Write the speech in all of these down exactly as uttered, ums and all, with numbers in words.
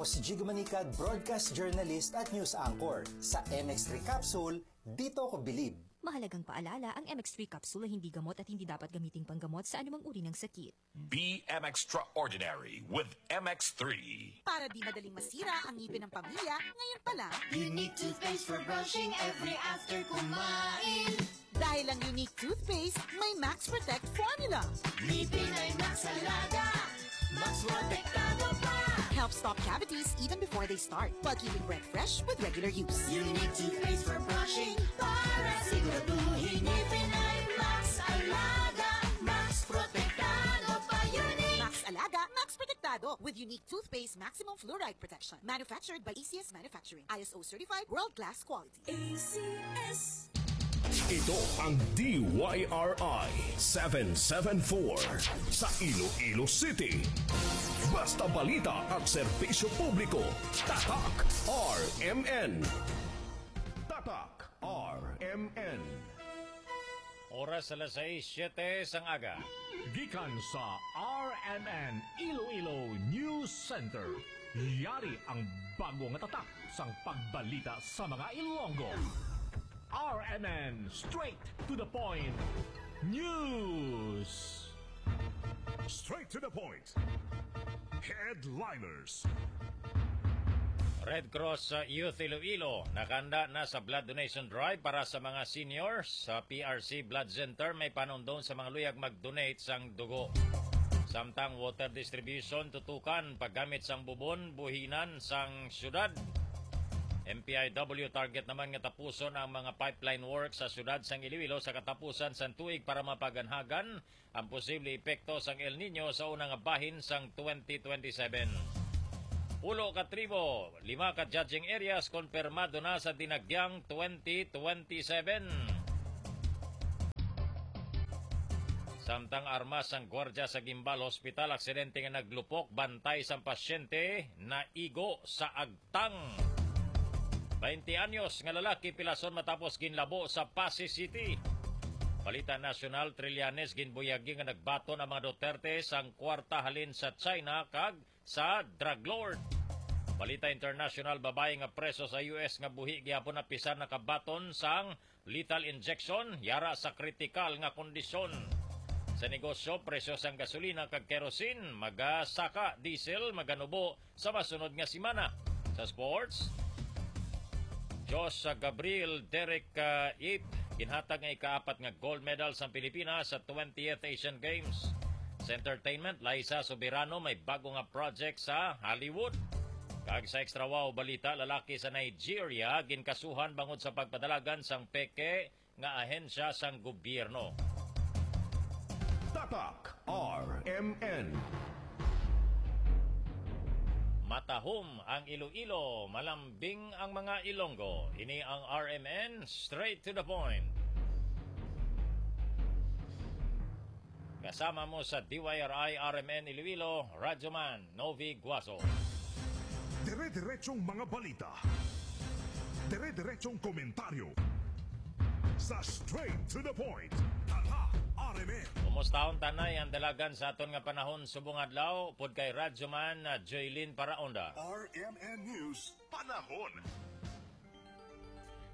Si Jigo Manicad, broadcast journalist at news anchor. Sa M X three Capsule, dito ko bilib. Mahalagang paalala, ang M X three capsule ay hindi gamot at hindi dapat gamiting panggamot sa anumang uri ng sakit. Be M Extraordinary with M X three. Para di madaling masira ang ngipin ng pamilya, ngayon pa lang. Unique toothpaste for brushing every after kumain. Dahil ang Unique Toothpaste may Max Protect Formula. Ngipin ay Max Alaga, Max Protektado pa. Helps stop cavities even before they start, while keeping breath fresh with regular use. Unique toothpaste for brushing para siguraduhin ngipin ay Max Alaga, Max Protektado pa. Unique! Max Alaga, Max Protektado with Unique Toothpaste Maximum Fluoride Protection. Manufactured by A C S Manufacturing. I S O certified, world-class quality. A C S. Ito ang D Y R I seven seven four sa Iloilo City. Basta balita at serbisyo publiko, Tatak R M N. Tatak R M N. Oras alas sais siyete sang aga. Gikan sa R M N Iloilo News Center, yari ang bago nga tatak sang pagbalita sa mga Ilonggo. R M N, straight to the point. News. Straight to the point. Headliners. Red Cross sa Youth Iloilo nakanda na sa blood donation drive para sa mga senior. Sa P R C Blood Center may panundon sa mga luyag mag-donate sang dugo. Samtang water distribution tutukan paggamit sang bubon buhinan sang syudad. M P I W target naman nga tapuson ang mga pipeline work sa syudad sang Iloilo sa katapusan sang tuig para mapaganhagan ang posible epekto sang El Nino sa una nga bahin sang twenty twenty-seven. Pulo ka tribo, lima ka judging areas konpermado na sa dinagyang twenty twenty-seven. Samtang armas ang gwardya sa Guimbal Hospital, aksidente nga naglupok bantay sang pasyente naigo sa agtang. Baynte anyos nga lalaki pilason matapos ginlabo sa Passi City. Balita nasyonal, Trillanes ginbuyagi nga nagbaton ang mga Duterte sang kwarta halin sa China kag sa drug lord. Balita international, babayi nga preso sa U S nga buhi gihapon apisar nakabaton sang lethal injection yara sa kritikal nga kondisyon. Sa negosyo, presyo sang gasolina kag kerosene magasaka, diesel maganubo sa masunod nga semana. Sa sports, Josh Gabriel Derek uh, Yip ginhatag nga ikaapat nga gold medal sa Pilipinas sa twentieth Asian Games. Sa entertainment, Liza Soberano may bago nga project sa Hollywood. Kag sa Extra Wow balita, lalaki sa Nigeria ginkasuhan bangod sa pagpadalagan sang peke nga ahensya sang gobyerno. Tatak R M N. Matahom ang Iloilo, malambing ang mga Ilonggo. Ini ang R M N, straight to the point. Kasama mo sa D Y R I R M N Iloilo, Radyoman Novi Guaso. Dire-diretsong mga balita. Dire-diretsong komentaryo. Sa Straight to the Point. Tatak R M N. Kumustahon tanay ang dalagan sa aton nga panahon subong adlaw, upod kay Radyoman na Joylene Paraonda. R M N News Panahon.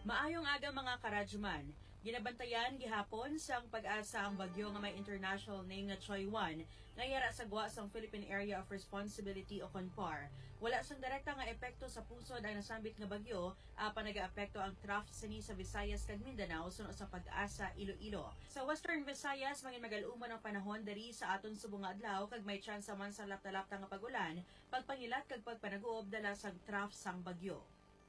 Maayong aga, mga karadyoman. Ginabantayan gihapon sang PAGASA ang bagyo nga may international name nga Choy One, nga yara sa gwa sang Philippine Area of Responsibility o kon PAR. Wala sang direkta nga epekto sa pusod ang nasambit nga bagyo, apan nagaapekto ang trough sini sa Visayas kag Mindanao, suno sa PAGASA Iloilo. Sa Western Visayas, mangin magal-umon ang panahon diri sa aton subong nga adlaw, kag may tsansa man sa lapta-lapta nga pag-ulan, pagpangilat kag pagpanaguob dala sang trough sang bagyo.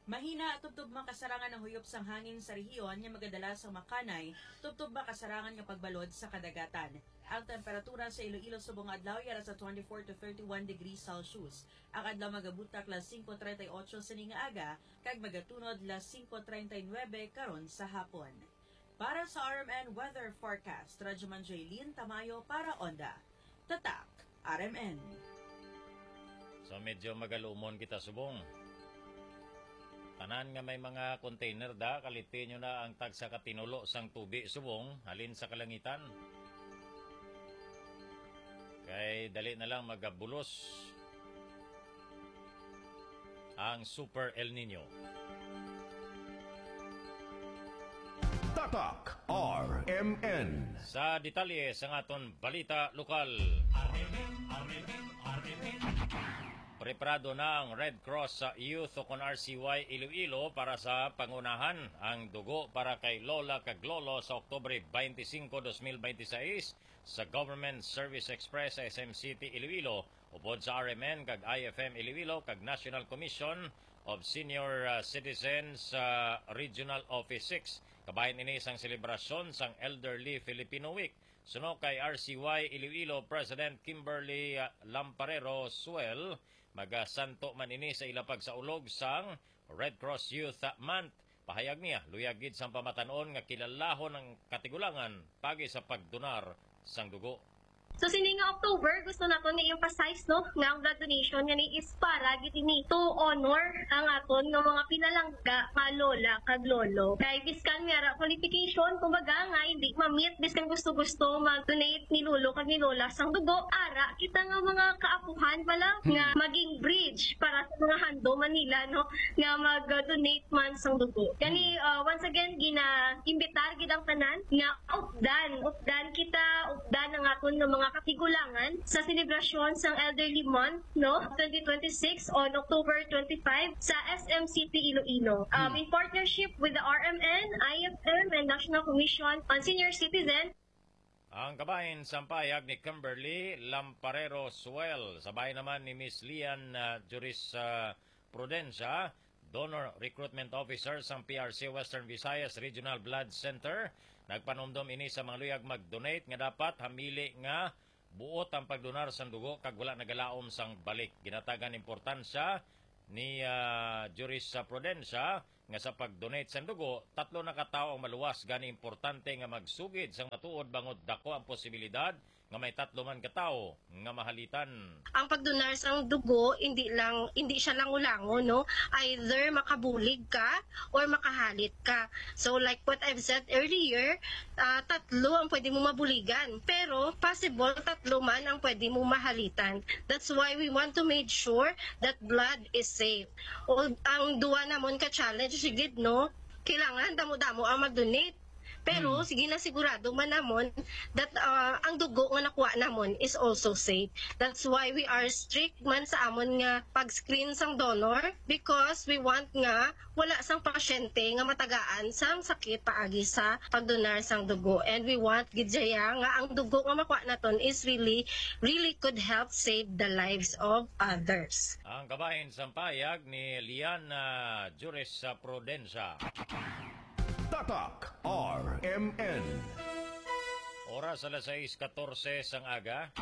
Mahina tubtob makasarangan ang huyop sang hangin sa rehiyon nga magadala sang makanay, tubtob makasarangan nga pagbalod sa kadagatan. Ang temperatura sa Iloilo subong nga adlaw yara sa twenty-four to thirty-one degrees Celsius. Ang adlaw magabutak las singko treinta y ocho sini nga aga, kag magatunod las singko treinta y nuebe karon sa hapon. Para sa R M N Weather Forecast, Radyoman Jaylene Tamayo para Onda. Tatak, R M N. So medyo magal-umon kita subong. Tanan nga may mga container da, kaliti nyo na ang tagsa ka tinulo sang tubi subong halin sa kalangitan. Kay dali na lang magabulos. ang Super El Nino. Tatak R M N. Sa detalye sang aton balita lokal. Preparado na ang Red Cross sa Youth o kon R C Y Iloilo para sa pangunahan. Ang dugo para kay Lola kag Lolo sa Oktubre twenty-five, twenty twenty-six sa Government Service Express sa S M City Iloilo, upod sa R M N kag I F M Iloilo kag National Commission of Senior uh, Citizens uh, Regional Office six. Kabahin ini sang selebrasyon sang Elderly Filipino Week. Suno kay R C Y Iloilo President Kimberly uh, Lamparero Suel, magasanto man ini sa ila pagsaulog sang Red Cross Youth Month. Pahayag niya, luyag gid sang pamatan-on nga kilalahon ang katigulangan pagi sa pagdonar sang dugo. So sini nga October, gusto naton i-emphasize, no, nga ang blood donation nga ni is para gid ini to honor ang aton nga mga pinalangga nga lola kag lolo. Kay biskan may ara qualification, kumbaga nga hindi ma-meet, biskan gusto-gusto mag-donate ni lolo kag ni lola sang dugo, ara kita nga mga kaapuhan pala nga maging bridge para sa mga handom man nila, no, nga mag-donate man sang dugo. Gani, uh, once again, gina-imbitar gid ang tanan nga updan, updan kita, updan ang aton nga mga katigulangan sa selebrasyon sang Elderly Month, no, twenty twenty-six on October twenty-five sa S M City Iloilo. Um, in partnership with the R M N, I F M, and National Commission on Senior Citizen, Ang kabahin sang pahayag ni Kimberly Lamparero Suel, sabay naman ni Miss Lian uh, Juris uh, Prudencia, Donor Recruitment Officer sang P R C Western Visayas Regional Blood Center. Nagpanumdom ini sa mga luyag mag-donate nga dapat hamili nga buot ang pagdonar sang dugo kag wala nagalaom sang balik. Ginatagan importansya ni uh, Juris Prudencia nga sa pag-donate sang dugo, tatlo na ka tawo ang maluwas, gani importante nga magsugid sang matuod bangod dako ang posibilidad nga may tatlo man ka tawo nga mahalitan. Ang pagdonar sang dugo, hindi lang hindi siya lango-lango, no? Either makabulig ka or makahalit ka. So like what I've said earlier, uh, tatlo ang pwede mo mabuligan, pero possible tatlo man ang pwede mo mahalitan. That's why we want to make sure that blood is safe. O, ang duwa namon ka challenge gid, no, kailangan damo-damo ang mag-donate. Pero hmm. Sige na, sigurado man namon that uh, ang dugo nga nakuha namon is also safe. That's why we are strict man sa amon nga pag-screen sang donor, because we want nga wala sang pasyente nga matagaan sang sakit paagi sa pagdonar sang dugo. And we want gid siya nga ang dugo nga makuha naton is really, really could help save the lives of others. Ang kabahin sang pahayag ni Liana Juris Prudencia. Tatak R M N. Oras alas sais katorse sang aga.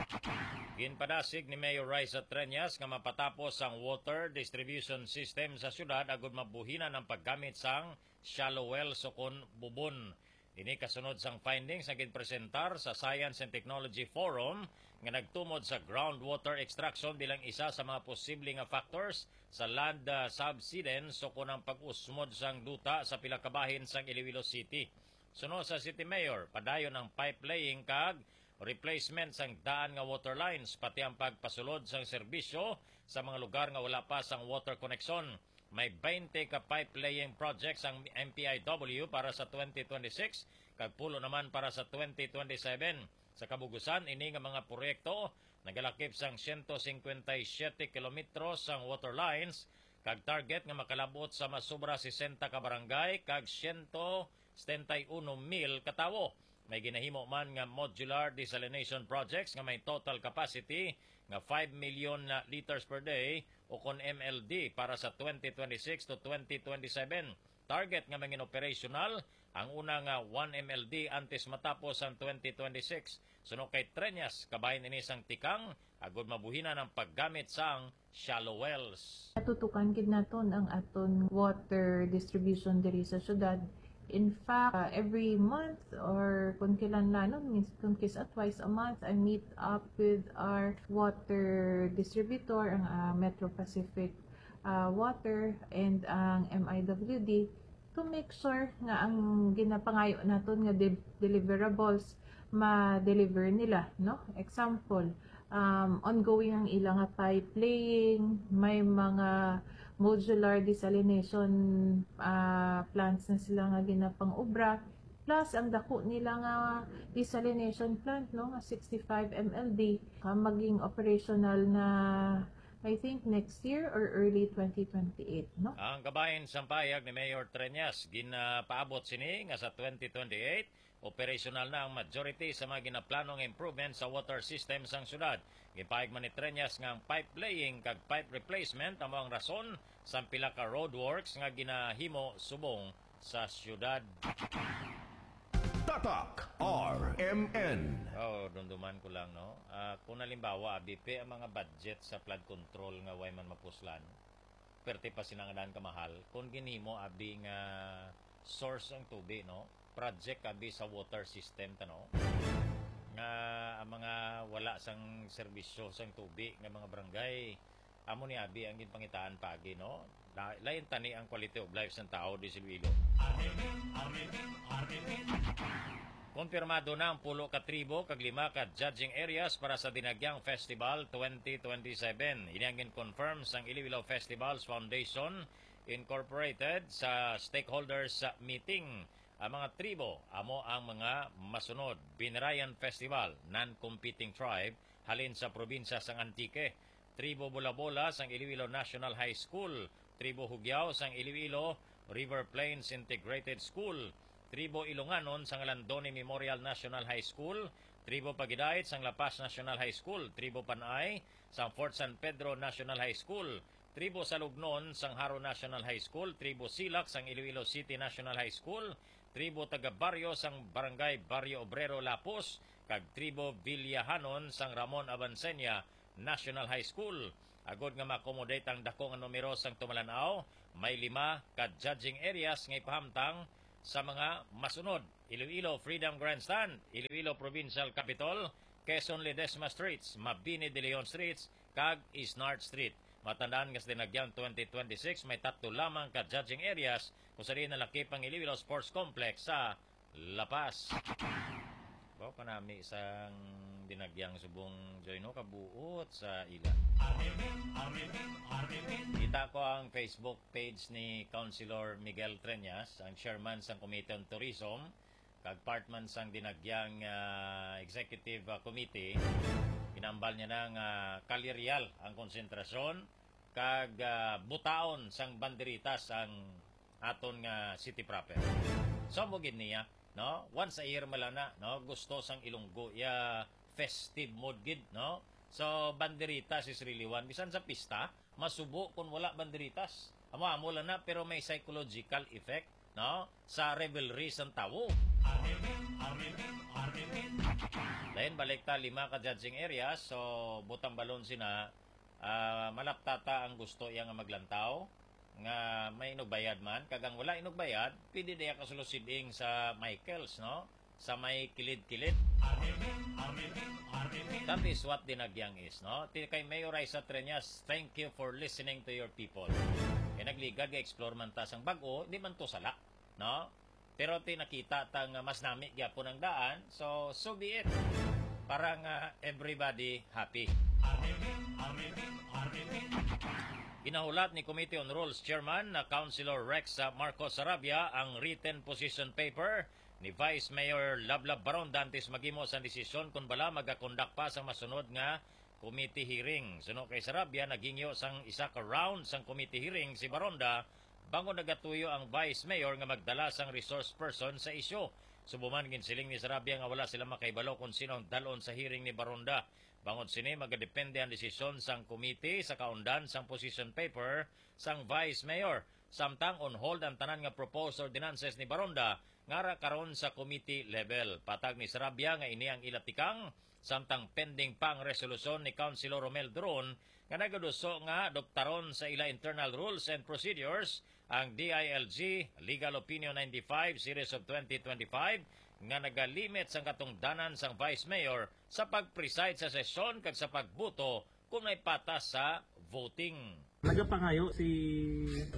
Ginpadasig ni Mayor Raisa Treñas nga mapatapos ang water distribution system sa syudad agud mabuhinan ang paggamit sang shallow wells o kon bubon. Ini kasunod sang findings nga ginpresentar sa Science and Technology Forum nga nagtumod sa groundwater extraction bilang isa sa mga posible nga factors sa land uh, subsidence o kon ang pag-usmod sang duta sa pila ka bahin sang Iloilo City. Suno sa City Mayor, padayon ang pipe laying kag replacement sang daan nga water lines, pati ang pagpasulod sang serbisyo sa mga lugar nga wala pa sang water connection. May twenty ka pipe laying projects ang M P I W para sa twenty twenty-six kag pulo naman para sa twenty twenty-seven. Sa kabugusan, ini nga mga proyekto nagalakip sang siyento singkwenta y siyete kilometro sang water lines kag target nga makalabot sa mas sobra sesenta ka barangay kag siyento setenta y uno mil ka tawo. May ginahimo man nga modular desalination projects nga may total capacity nga five million na liters per day o kon M L D para sa twenty twenty-six to twenty twenty-seven. Target nga mangin operational ang una nga one M L D antes matapos ang twenty twenty-six. Suno kay Treñas, kabahin ini sang tikang agud mabuhinan ang paggamit sang shallow wells. Natutukan gid naton ang aton water distribution diri sa syudad. In fact, uh, every month or kung kailanlanon, mins- kung kis-a twice a month, I meet up with our water distributor, ang uh, Metro Pacific uh, Water and ang M I W D to make sure nga ang ginapangayo naton nga de- deliverables ma-deliver nila, no? Example, um, ongoing ang ilang pipe laying, may mga modular desalination, ah, plants na sila nga ginapang-obra. Plus, ang dako nila nga desalination plant, no, nga sixty-five M L D, ah, maging operational na, I think, next year or early twenty twenty-eight, no? Ang kabahin sang pahayag ni Mayor Treñas, ginapaabot sini nga sa twenty twenty-eight, operational na ang majority sa mga ginaplanong improvement sa water system sang syudad. Ginpahayag man ni Treñas nga ang pipe laying kag pipe replacement amo ang rason sang pila ka roadworks nga ginahimo subong sa syudad. Tatak R M N. Oh, dumduman ko lang, no? Ah, kung halimbawa, abi, pe ang mga budget sa flood control nga way man mapuslan, perte pa sina nga daan kamahal. Kung ginhimo, abi, nga source ang tubi, no? Project, abi, sa water system ta, no? Nga ang mga wala sang serbisyo sang tubi nga mga barangay, amo ni abi ang ginpangitaan paagi, no? La-, lain tani ang quality of life sang tawo di sa Iloilo. Konfirmado na ang pulo ka tribo kag lima ka judging areas para sa Dinagyang Festival twenty twenty-seven. Ini ang gin-confirm sang Iloilo Festivals Foundation Incorporated sa stakeholders meeting. Ang mga tribo amo ang mga masunod: Binirayan Festival, non-competing tribe, halin sa probinsya sang Antique. Tribo Bolabola sang Iloilo National High School, Tribo Hugiao sang Iloilo River Plains Integrated School, Tribo Ilonganon sang Landone Memorial National High School, Tribo Pagidait sang La Paz National High School, Tribo Panay sang Fort San Pedro National High School, Tribo Salugnon sang Jaro National High School, Tribo Silak sang Iloilo City National High School, Tribo Taga Barrio sang Barangay Barrio Obrero Lapus, kag Tribo Villahanon sang Ramon Avancenia National High School. Agod nga ma-accommodate ang dako nga numero sang tumalan-aw, may lima ka judging areas nga ipahamtang sa mga masunod: Iloilo Freedom Grandstand, Iloilo Provincial Capitol, Quezon Ledesma Streets, Mabini de Leon Streets, kag Isnard Street. Matandaan nga sa Dinagyang twenty twenty-six, may tatlo lamang ka judging areas, kung sa diin nalakip ang Iloilo Sports Complex sa La Paz. Baw kanami sang Dinagyang subong, Joy, no, kabuot sa ila. Kita ko ang Facebook page ni Councilor Miguel Treñas, ang chairman sang Committee on Tourism, kag part man sang Dinagyang, ah, Executive, ah, Committee. Ginambal niya na nga kalirial ang konsentrasyon kag, ah, butaon sang banderitas ang aton nga city proper. So, amo gid niya, no? Once a year man lang na, no? Gusto sang Ilonggo iya festive mood gid, no? So, banderitas is really one. Bisan sa pista, masubo kung wala banderitas. Amo-amo lang na, pero may psychological effect, no? Sa revelry sang tawo. Dayon, balik ta, lima ka judging areas. So, butang balon sina, ah, malaptata ang gusto iya nga maglantaw, nga may inugbayad man, kag ang wala inugbayad, pwede diya kasulo siding sa Michaels, no? Sa may kilid-kilid. That is what Dinagyang is, no? Ti kay Mayor Raisa Treñas, thank you for listening to your people. Kay nagligad nga explore man ta sang bag-o, di man to sala, no? Pero ti nakita ta nga mas nami gyapon ang daan, so, so be it. Para nga everybody happy. Ginahulat ni Committee on Rules Chairman na Councilor Rex, ah, Marcos Sarabia ang written position paper ni Vice Mayor Lablab Baronda antes maghimo sang desisyon kon bala magakondak pa sang masunod nga committee hearing. Suno kay Sarabia, naghingyo sang isa ka round sang committee hearing si Baronda, bangod nagatuyo ang Vice Mayor nga magdala sang resource person sa isyu. Subong man, ginsiling ni Sarabia nga wala sila makahibalo kon sino ang dal-on sa hearing ni Baronda. Bangod sini, magadepende ang desisyon sang committee sa kaundan sang position paper sang Vice Mayor. Samtang on hold ang tanan nga proposed ordinances ni Baronda, ngara karon sa committee level. Patag ni Sarabia nga ini ang ila tikang, samtang pending pa ang resolusyon ni Councilor Romel Duron nga nagaduso nga adoptaron sa ila internal rules and procedures ang D I L G Legal Opinion ninety-five Series of twenty twenty-five nga nagalimit sang katungdanan sang Vice Mayor sa pag-preside sa sesyon kag sa pagboto kung may patas sa voting. Nagapangayo si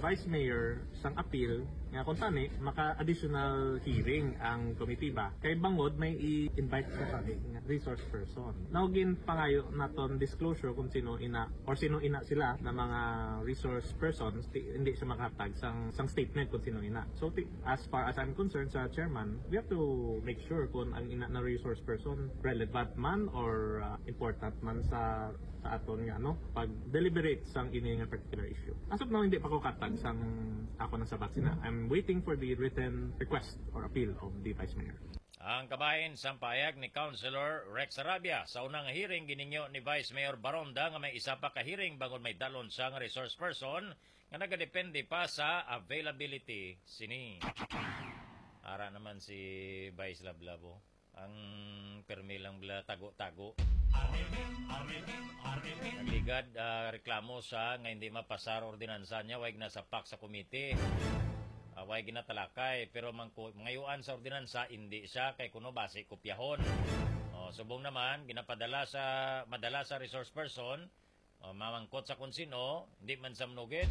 Vice Mayor sang appeal nga kung tani maka-additional hearing ang committee ba, kay bangod may i-invite sa tani nga resource person. Now, ginpangayo naton disclosure kung sino ina or sino ina sila na mga resource persons, ti-, hindi siya makahatag sang, sang statement kung sino ina. So, ti-, as far as I'm concerned, sa chairman, we have to make sure kung ang ina na resource person relevant man or, uh, important man sa, sa aton nga, ano, pag-deliberate sang ini nga particular issue. As of now, hindi pa ko katag sang ako nang sabat sina. I'm waiting for the written request or appeal of the Vice Mayor. Ang kabahin sang pahayag ni Councilor Rex Arabia. Sa unang hearing, ginhingyo ni Vice Mayor Baronda nga may isa pa ka hearing bangod may dalon siya nga resource person nga nagadepende pa sa availability sini. Ara naman si Vice Lablabo. Ang permi lang bala tago-tago. Nagligad, ah, reklamo siya nga hindi mapasar ordinansa niya, way ginasapak sa komite. Ah, way ginatalakay, pero mangku-, mangayuan sa ordinansa, hindi siya, kay kuno basi kopyahon. Oh, subong naman, ginapadala sa, madala sa resource person, oh, mamangkot sa kung sino, hindi man sa manugid.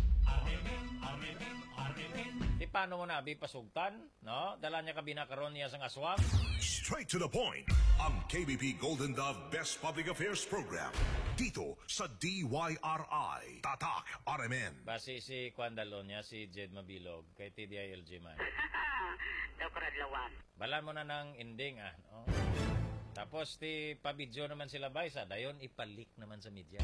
Di paano mo na abi pasugtan, no? Dala niya kabina karon niya sang aswang. Straight to the point. Ang K B P Golden Dove Best Public Affairs Program. Dito sa D Y R I. Tatak R M N. Basi si Kwan Dalon niya, si Jed Mabilog, kay T D I L G man. Daw karadlawan. Balan mo na ng ending, ah, no? Tapos ti pa-video naman sila, bay, sa dayon ipalik naman sa media.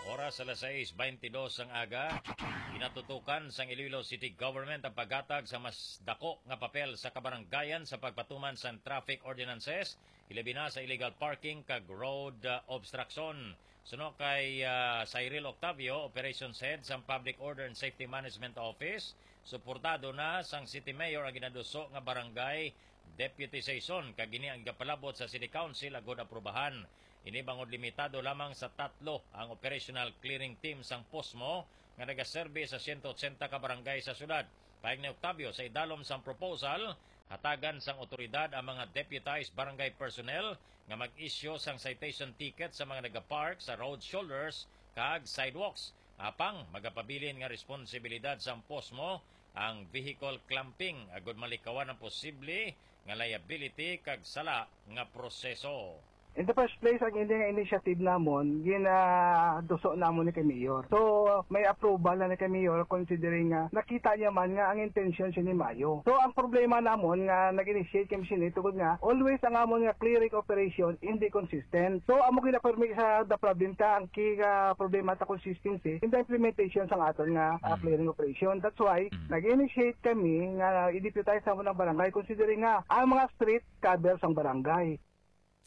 Oras alas sais beintidos ang aga, ginatutukan sang Iloilo City Government ang paghatag sa mas dako nga papel sa kabaranggayan sa pagpatuman sang traffic ordinances, hilabi na sa illegal parking kag road, ah, obstruction. Suno kay, ah, Cyril Octavio, Operations Head sang Public Order and Safety Management Office, suportado na sang City Mayor ang ginaduso nga barangay deputization, kag ini ang gapalabot sa City Council agud aprubahan. Ini bangod limitado lamang sa tatlo ang operational clearing team sang POSMO nga nagaserbi sa siyento otsenta ka barangay sa syudad. Pahayag ni Octavio, sa idalom sang proposal, hatagan sang otoridad ang mga deputized barangay personnel nga mag-issue sang citation ticket sa mga nagapark sa road shoulders kag sidewalks. Apang magapabilin nga responsibilidad sang POSMO ang vehicle clumping agud malikawan ang posible nga liability kag sala nga proseso. In the first place, ang ini nga initiative namon, ginaduso namon ni kay Mayor. So, may approval na ni kay Mayor considering nga nakita niya man nga ang intensyon sini maayo. So, ang problema namon nga nag-initiate kami sini tungod nga always ang amon nga clearing operation hindi consistent. So, amo gina-permi sa the problem ta, ang key nga problema ta consistency in the implementation sang aton nga, ah, Mm. clearing operation. That's why Mm. nag-initiate kami nga i-deputize namon ang barangay considering nga ang mga street cover sang barangay.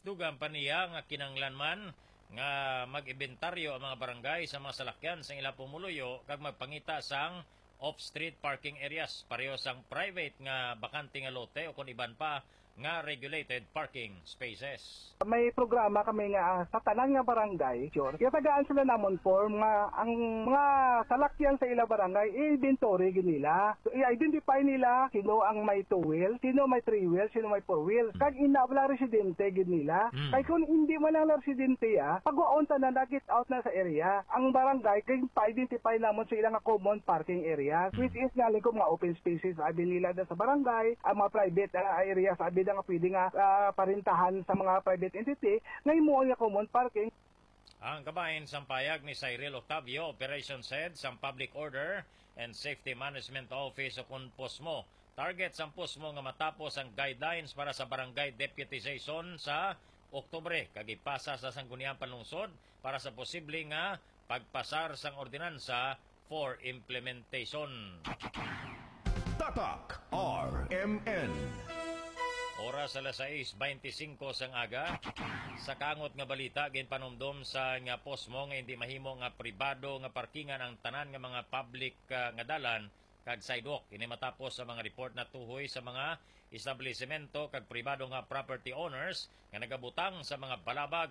Dugang pa niya nga kinahanglan man nga mag-inventaryo ang mga barangay sa mga salakyan sang ila pumuluyo kag magpangita sang off-street parking areas, pareho sang private nga bakante nga lote o kon iban pa nga regulated parking spaces. May programa kami nga, ah, sa tanan nga barangay, sure, ginatagaan sila namon form nga ang mga salakyan sa ila barangay, i-inventory gid nila. So, i-identify nila sino ang may two wheel, sino may three wheel, sino may four wheel. Mm. Kag ina wala residente gid nila. Mm. Kay kung hindi man lang residente, ah, pagwaon tanan na get out na sa area. Ang barangay kay pa-identify namon sa ila nga common parking areas, Mm. which is nga lingkod mga open spaces abi nila da sa barangay, ang mga private, ah, areas abi da nga pwede nga, ah, parintahan sa mga private entity nga himuon nga common parking. Ang kabahin sang payag ni Cyril Octavio, Operations Head sang Public Order and Safety Management Office o kon POSMO. Target sang POSMO nga matapos ang guidelines para sa barangay deputization sa Oktubre kag ipasa sa Sangguniang Panlungsod para sa posible nga pagpasar sang ordinansa for implementation. Tatak R M N. Oras alas sais beintisinko sang aga. Sa kaangot nga balita, ginpanumdom sa nga POSMO nga hindi mahimo nga pribado nga parkingan ang tanan nga mga public, ah, nga dalan kag sidewalk. Ini matapos sa mga report na tuhoy sa mga establisemento kag pribado nga property owners nga nagabutang sa mga balabag,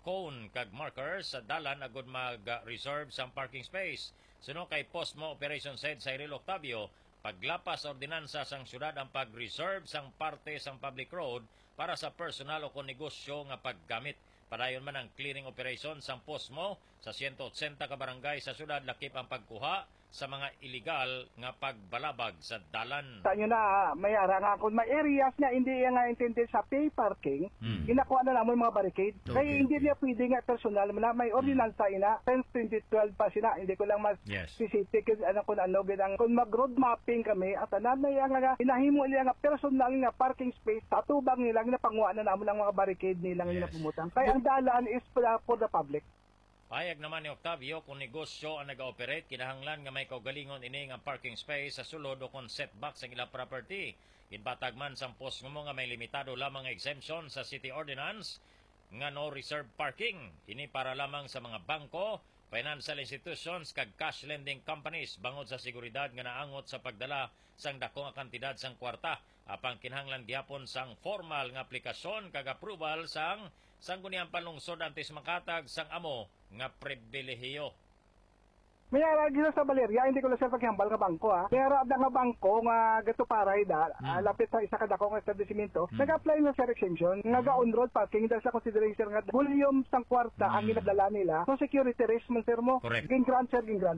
cone kag markers sa dalan agud mag-reserve sang parking space. Suno kay POSMO Operations Head Cyril Octavio, paglapas sa ordinansa sang syudad ang pag-reserve sang parte sang public road para sa personal o kon negosyo nga paggamit. Padayon man ang clearing operation sang Posmo sa siyento otsenta ka barangay sa syudad, lakip ang pagkuha sa mga iligal nga pagbalabag sa dalan. Sa inyo na, may ara nga kung may areas nga hindi nga intended sa pay parking, Hmm. inakuha na namon mga barricade. Okay, Kay hindi okay. niya pwede nga personal mo na may Hmm. ordinansa ina since twenty twelve pa sila. Hindi ko lang mas Yes. specific kung ano kung ano gid ang kung mag road mapping kami at tanan na iya nga hinahimo niya nga personal nga parking space sa tubang nila nga napanguha na namon ang mga barricade nila nga Yes. napumutan. Kay ang dalan is for, for the public. Pahayag naman ni Octavio, kung negosyo ang nag-ooperate, kinahanglan nga may kaugalingon ini nga parking space sa sulod o kung setback sa ilang property. Ginpatag man sang Posmo nga may limitado lamang nga exemption sa city ordinance nga no reserve parking. Ini para lamang sa mga bangko, financial institutions, kag cash lending companies bangod sa seguridad nga naangot sa pagdala sang dako nga kantidad sang kwarta. Apang kinahanglan gihapon sang formal nga aplikasyon kag approval sang Sangguniang Panlungsod antes makatag sang amo nga pribilehiyo. May ara gila sa Valeria, hindi ko lang siya paghambal nga bangko, ha. May ara da nga bangko nga gatuparay da, Mm. ah, lapit sa isa ka dako nga establishmento, Mm. nag-apply na sa exemption, nga Mm. ga-on-road parking dahil sa consideration nga volume sang kwarta ang Mm. ginadala nila. So, security risk man, sir, mo. Correct. Gin-grant, sir, gin-grant.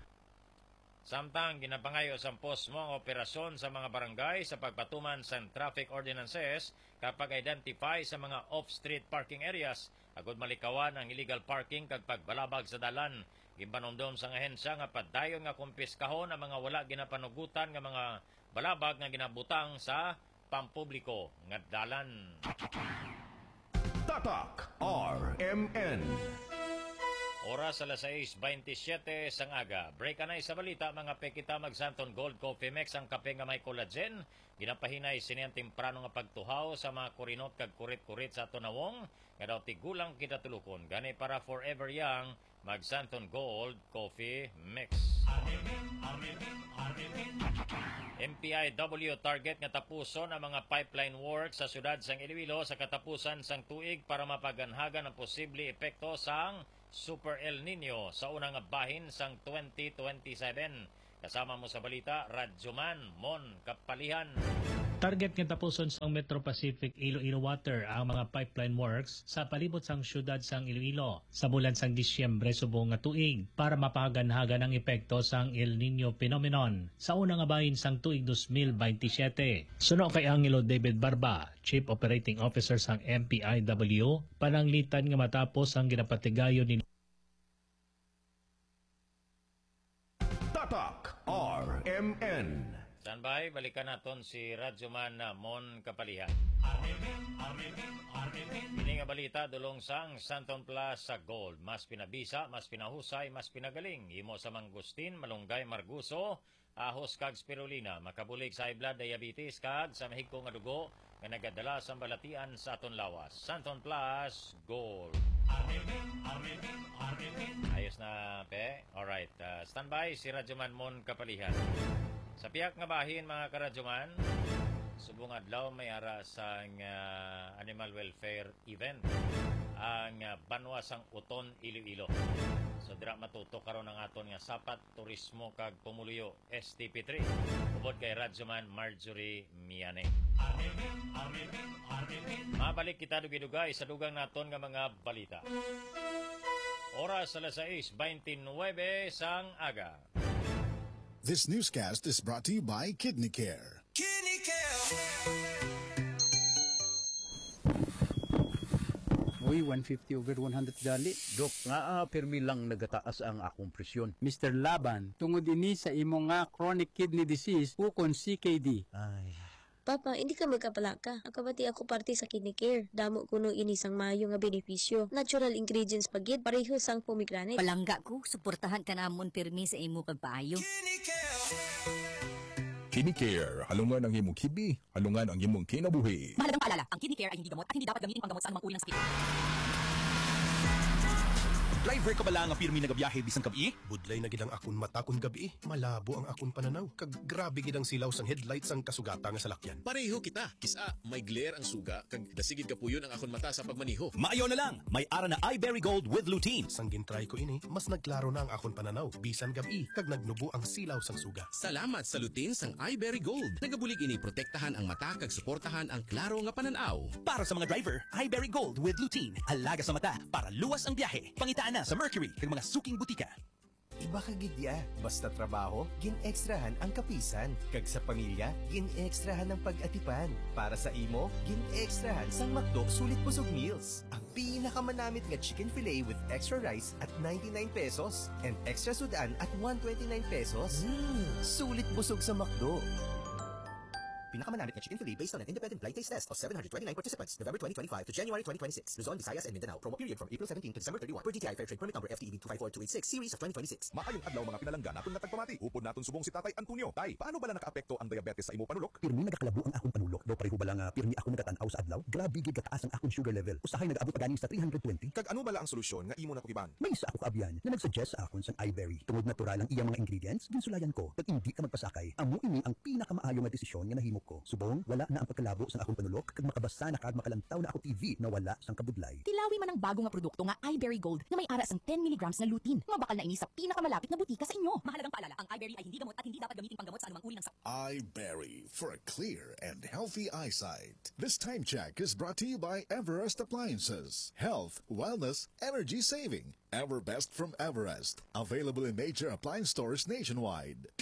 Samtang ginapangayo sang Posmo ang operasyon sa mga barangay sa pagpatuman sang traffic ordinances kag pag-identify sa mga off-street parking areas agud malikawan ang illegal parking kag pagbalabag sa dalan. Ginpanumdom sang ahensya nga padayon nga kumpiskahon ang mga wala ginapanugutan nga mga balabag nga ginabutang sa pampubliko nga dalan. Tatak R M N. Oras alas sais baynte siyete sang aga. Break anay sa balita, mga pe, kita mag Santon Gold Coffee Mix, ang kape nga may collagen. Ginapahinay sini ang temprano nga pagtuhaw sa mga kurinot kag kurit-kurit sa aton nawong, nga daw tigulang kita tulukon. Gani para forever young, mag Santon Gold Coffee Mix. M P I W target nga tapuson ang mga pipeline work sa siyudad sang Iloilo sa katapusan sang tuig para mapaganhagan ang posible epekto sang Super El Nino sa una nga bahin sang twenty twenty-seven. Kasama mo sa balita, Radyoman Mon Kapalihan. Target nga tapuson sang Metro Pacific Iloilo Water ang mga pipeline works sa palibot sang siyudad sang Iloilo sa bulan sang Disyembre subong nga tuig para mapahaganhagan ang epekto sang El Nino phenomenon sa una nga bahin sang tuig dos mil baynte siyete. Suno kay Angelo David Barba, Chief Operating Officer sang M P I W, pananglitan nga matapos ang ginapatigayon ni Tatak R M N. Standby, balikan naton si Radyoman Mon Kapalihan. Ini nga balita dulong sang Santon Plus sa Gold. Mas pinabisa, mas pinahusay, mas pinagaling. Himo sa mangustin, malunggay, marguso, ahos kag spirulina. Makabulig sa high blood, diabetes, kag sa mahigko nga dugo nga nagadala sa balatian sa aton lawas. Santon Plus Gold. Ayos na, pe. Alright. Ah, standby si Radyoman Mon Kapalihan. Sa pihak nga bahin, mga karadyoman, subong adlaw may ara sang, ah, animal welfare event ang, ah, banwa sang Uton, Iloilo. So, dira matutok karon ang aton nga Sapat, Turismo kag Pumuluyo, S T P three, ubod kay Radyoman Marjorie Miane. Mabalik kita dugay-dugay sa dugang naton nga mga balita. Oras alas sais baynte nuwebe sang aga. This newscast is brought to you by Kidney Care. Kidney Care. Uy, one fifty over one hundred gali. Dok, nga, ah, pirmi lang nagataas ang akong presyon. Mister Laban, tungod ini sa imo nga chronic kidney disease ukon C K D. Ay. Papa, hindi ka magkapalaka. Ang kabati ako parte sa Kidney Care. Damo kuno ini sang maayo nga benepisyo. Natural ingredients pa gid, pareho sang pomegranate. Palangga ko, suportahan ka namon pirmi sa imo pagpaayo. Kidney Care. Kidney Care, halungan ang imong kidney, halungan ang imong kinabuhi. Mahalagang paalala, ang Kidney Care ay hindi gamot at hindi dapat gamitin panggamot sa anumang uri ng sakit. Driver ka bala nga pirmi nagabiyahe bisan gab-i? Budlay na gid ang akon mata kon gab-i. Malabo ang akon pananaw, kag grabe gid ang silaw sang headlight sang kasugata nga salakyan. Pareho kita. Kis-a may glare ang suga, kag dasigid kapuyon ang akon mata sa pagmaneho. Maayo na lang, may ara na Iberry Gold with lutein. Sang gintry ko ini, mas nagklaro na ang akon pananaw bisan gab-i, kag nagnubo ang silaw sang suga. Salamat sa lutein sang Iberry Gold. Nagabulig ini protektahan ang mata kag suportahan ang klaro nga panan-aw. Para sa mga driver, Iberry Gold with lutein. Alaga sa mata para luwas ang biyahe. Pangitaan na sa Mercury kag mga suking butika. Iba ka gid ya, basta trabaho, gin-extrahan ang kapisan, kag sa pamilya, gin-extrahan ang pag-atipan. Para sa imo, gin-extrahan sang McDo Sulit Busog Meals. Ang pinakamanamit nga chicken fillet with extra rice at ninety-nine pesos and extra sud-an at one twenty-nine pesos. Mm, sulit busog sa McDo. Pinakamanamit nga chicken fillet based on an independent blind taste test of seven hundred twenty-nine participants, November twenty twenty-five to January twenty twenty-six. Luzon, Visayas, and Mindanao. Promo period from April seventeen to December thirty-one. Per D T I Fair Trade Permit Number F T E B two five four two eight six, Series of twenty twenty-six. Maayong adlaw, mga pinalangga naton nga tagpamati. Upod naton subong si Tatay Antonio. Tay, paano bala naka-apekto ang diabetes sa imo panulok? Pirmi nagakalabo ang akon panulok. Daw pareho bala nga pirmi ako nagatan-aw sa adlaw? Grabe gid kataas ang akon sugar level. Usahay nag-abot pa gani sa three hundred twenty. Kag ano bala ang solusyon nga imo nakugiban? May isa ako kaabyan nga nag-suggest sa akon sang iBerry. Tungod natural ang iya mga ingredients, ginsulayan ko. Kag indi ka magpasakay. Amo ini ang pinakamaayo nga desisyon nga nahimo ko. Subong, wala na ang pagkalabo sang akon panulok, kag makabasa na kag makalantaw na ako T V nga wala sang kabudlay. Tilawi man ang bago nga produkto nga iBerry Gold nga may ara sang ten milligrams nga lutein. Mabakal na ini sa pinakamalapit nga butika sa inyo. Mahalagang paalala, ang iBerry ay hindi gamot at hindi dapat gamitin panggamot sa anumang uri ng sakit. iBerry, for a clear and healthy eyesight. This time check is brought to you by Everest Appliances. Health, wellness, energy saving. Everbest from Everest. Available in major appliance stores nationwide.